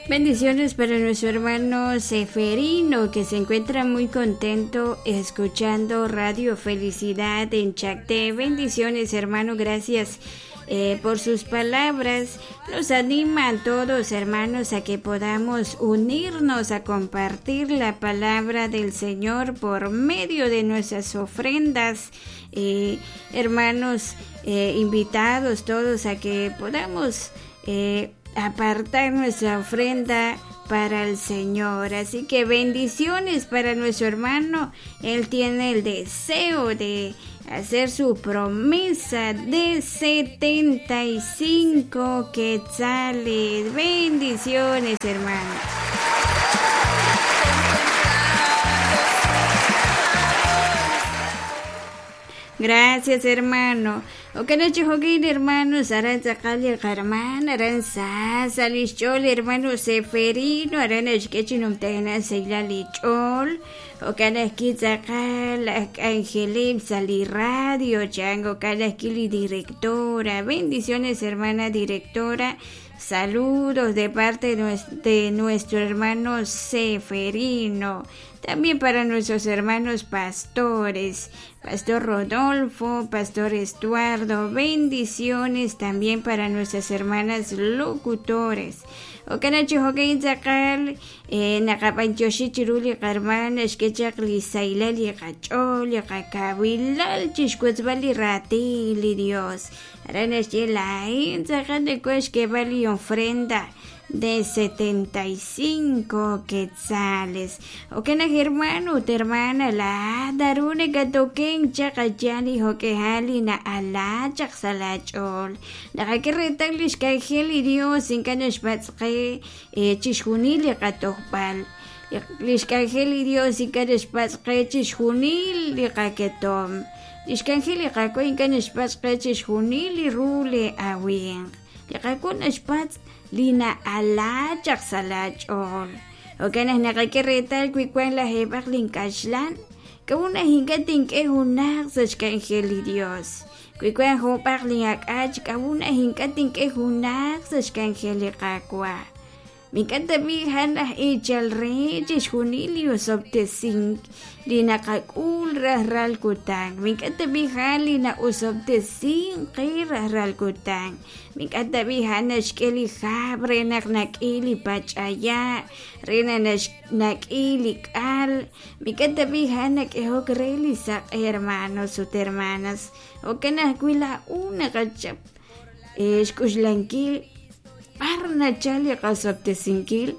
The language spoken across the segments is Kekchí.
Bendiciones para nuestro hermano Seferino, que se encuentra muy contento escuchando Radio Felicidad en Chacté. Bendiciones, hermano, gracias eh, por sus palabras. Nos anima a todos, hermanos, a que podamos unirnos a compartir la palabra del Señor por medio de nuestras ofrendas. Eh, hermanos, eh, invitados todos a que podamos apartar nuestra ofrenda para el Señor. Así que bendiciones para nuestro hermano. Él tiene el deseo de hacer su promesa de 75 quetzales. Bendiciones, hermano. Gracias, hermano. Okanachi jokin, hermanos, aran tz'aqal li qarman, aran sa sa' li xch'ool hermano Seferino, aran naxk'e chi numtajenaq saylal li ch'ool, jo'kan ajwi' tz'aqal aj k'anjeleb' sa' li radio chan, jo'kan ajwi' li directora. Bendiciones, hermana directora. Saludos de parte de nuestro hermano Seferino. También para nuestros hermanos pastores, Pastor Rodolfo, Pastor Estuardo, bendiciones también para nuestras hermanas locutores. Jo'kan chi jo'kan tz'aqal naqab'antioxi chiru li qarman naxk'e chaq li saylal li qach'ool li qakawilal chixwotzb'al li raatin li Dios. Aran naxye laa'in tz'aqal nakuaj xk'eeb'al li ofrenda de 75 quetzales. Jo'kan naq hermano ut hermana laa'at naru nakatokenk chaq ayal li jo'k'ehal li na'ala chaq sa' laach'ool. Naqak'e reetal li xk'anjel li Dios ink'a' naxpatz' qe chixjunil li qatojb'al. Li xk'anjel li Dios ink'a' naxpatz' qe chixjunil li qaketom. Li xk'anjel li Qaawa' ink'a' naxpatz' qe chixjunil li ru li awimq. Li Qaawa' naxpatz' li na'ala chaq sa' laach'ool. Jo'kan naq naqak'e reetal wi wank lajeeb'aq linkaxlan, k'a'ut naq ink'a' tink'e junaq sa' xk'anjel li Dios? Wi wank joob'aq lin'ak'ach, k'a'ut naq ink'a' tink'e junaq sa' xk'anjel li Qaawa'? Mink'a' tab'i' a'an aj eechal re chixjunil li osob'tesink li naqak'ul rajlal kutan. Mink'a' tab'i' a'an li na'osob'tesink qe rajlal kutan. Mink'a' tab'i' a'an naxk'e li hab' re naq nak'i li pach'aya', re naq nak'i li k'al. Mink'a' tab'i' a'an nak'ehok re li saq'e, hermanos ut hermanas. Jo'kan ajwi' laa'o naqachap xk'uxlankil b'ar nachal li qosob'tesinkil.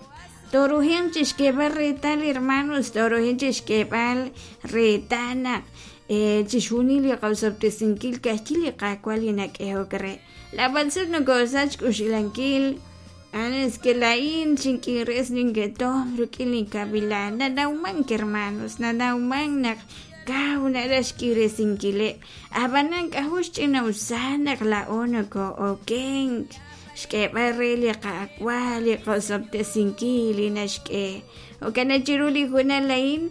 Tooruhanq chixk'eeb'al reetal, hermanos, tooruhanq chixk'eeb'al reetal naq chixjunil li qosob'tesinkil ka'ajwi' li Qaawa' li nak'ehok re. Lab'al sut nokosach xk'uxlankil es que laa'in xink'irres ninketom rik'in li kawilan. Nanawmank, hermanos, nanawmank naq kaw naraj xk'iresinkileb'. Ab'anan k'ajo' xch'ina'usal naq laa'o nokoo'okenk xk'eeb'al re li Qaawa' li qosob'tesinkil li naxk'e. Jo'kan naq chiru li hoonal a'in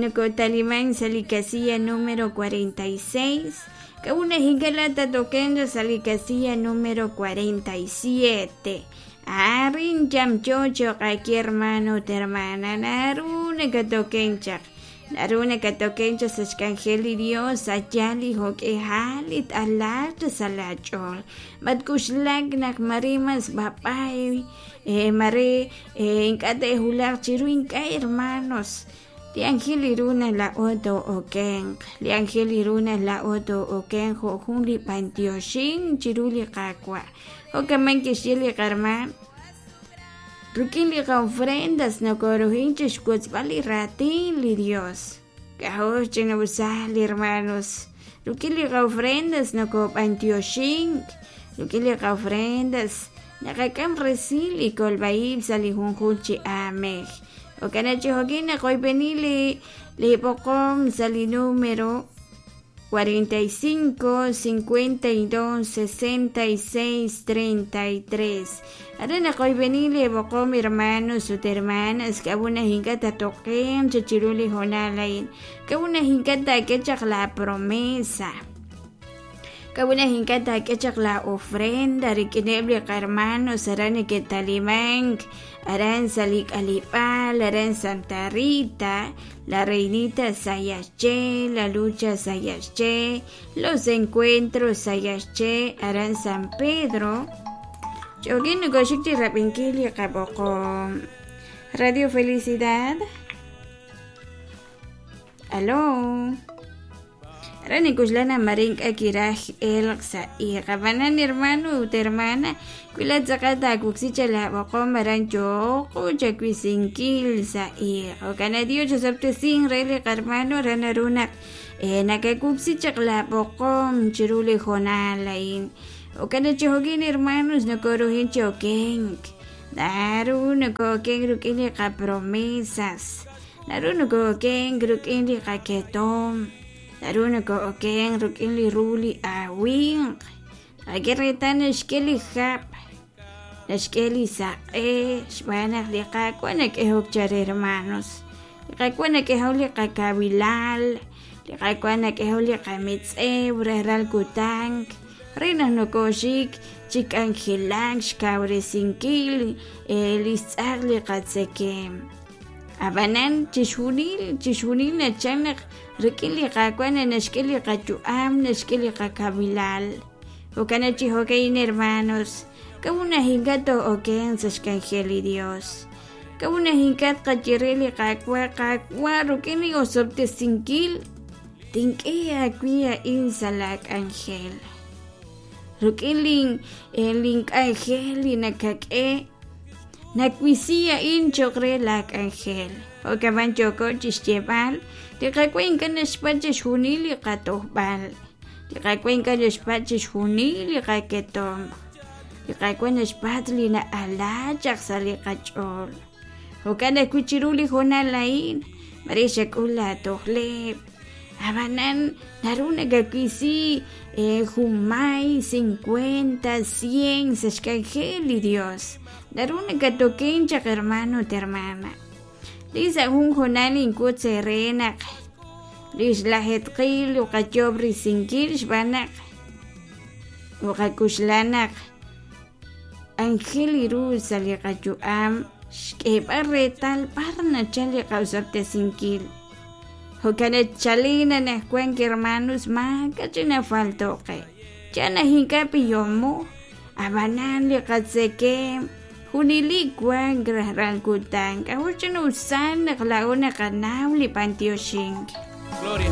nokotalimank sa' li casilla número 46. K'a'ut naq ink'a' laa'at tatokenq sa' li casilla número 47? Arin yamyo cho'q aawe hermano ut hermana, naru nakatokenk chaq. Naru nakatokenk chaq sa' xk'anjel li Dios a' yaal li jo'k'ihal li t-alaaq chaq sa' laach'ool. Matk'uxlak naq mare mas b'ab'ay, mare ink'a' te'wulaq chiru ink'a' hermanos. Li anjel li ru naq laa'o too'okenq, li anjel li ru naq laa'o too'okenq jo' jun li b'antioxink chiru li Qaawa'. Jo'kan kixye li qarman, rik'in li qofrendas nokoruhin chixwotzb'al li raatin li Dios. K'ajo' xch'ina'usal li hermanos. Rik'in li qofrendas nokob'antioxink, rik'in li qofrendas naqak'am resil li kolb'a-ib' sa' li junjunq chi aamej. Jo'kan naq chi jo'kin naqoyb'eni li li b'oqom sa' li número 45 52 66 33. Aran naqoyb'eni li b'oqom hermanos ut hermanas k'a'ut naq ink'a' tatoqen chi chiru li hoonal a'in. K'a'ut naq ink'a' taak'e chaq la promesa. K'a'ut ink'a' taak'e chaq la ofrenda rik'ineb' li qahermanos aran neke'talimank aran sa' li k'aleb'aal aran Santa Rita, La Reinita Sayaxché, La Lucha Sayaxché, Los Encuentros Sayaxché, aran San Pedro. Ch'okin nokoxik chi rab'inkil li qab'oqom. Radio Felicidad. Aló. Aran nikuxlan mare ink'a' kiraj elq sa' iq. Ab'anan hermano ut hermana, wi laat tz'aqal taawoksi cha laab'oqom aran yooqo chawisinkil sa' iq. Jo'kan Dios osob'tesin re li qarmano aran naru naq nakawoksi chaq laab'oqom chiru li hoonal a'in. Jo'kan chi jo'kin hermanos nokoruhin chi okenk. Naru nokookenk rik'in li qapromesas. Naru nokookenk rik'in li qaketom. Naru nokookenk rik'in li ru li awinq. Naqak'e reetal naxk'e li hab', naxk'e li saq'e, xb'aan naq li Qaawa' nak'ehok chare hermanos. Li Qaawa' nak'ehok li qakawilal, li Qaawa' nak'ehok li qametz'ew rajlal kutan re naq nokooxik chi k'anjelak xkawresinkil li xtz'aq li qatzekemq. Ab'anan chixjunil chixjunil nachal naq rik'in li Qaawa' naxk'e li qayu'am, naxk'e li qakawilal. Jo'kan chi jo'ka'in hermanos, k'a'ut naq ink'a' too'okenq sa' xk'anjel li Dios. K'a'ut naq ink'a' tqaye re li Qaawa', Qaawa' rik'in li osob'tesinkil tink'e aawe a'in sa' laak'anjel. Rik'in lin link'anjel li nakak'e nawisi a'in cho'q re laak'anjel. Jo'kan yooko chi xyeeb'al, li Qaawa' ink'a' naxpatz' chixjunil li qatojb'al. Li Qaawa' ink'a' naxpatz' chixjunil li qaketom. Li Qaawa' naxpatz' li na'ala chaq sa' li qach'ool. Jo'kan ajwi' chiru li hoonal a'in, mare xak'ul laatojleb'. Ab'anan naru nakawisi junmay, 50, 100 sa' xk'anjel li Dios. Naru nakatoken chaq hermano ut hermana. Li sa' jun hoonal inkut eere naq li xlajeetqil uqayob' risinkil xb'aan naq uqakuxla naq anjel ru sa' li qayu'am xk'eeb'al reetal b'ar nachal li qa'osob'tesinkil. Jo'kan chalen anaqwan hermanos maak'a' chi nafalto'qe. Chan naq ink'a' b'ihomo, ab'anan li qatzekemq junelik wank rajlal kutan. K'a'ut chi usal naq laa'o naqanaw li b'antioxink. Gloria.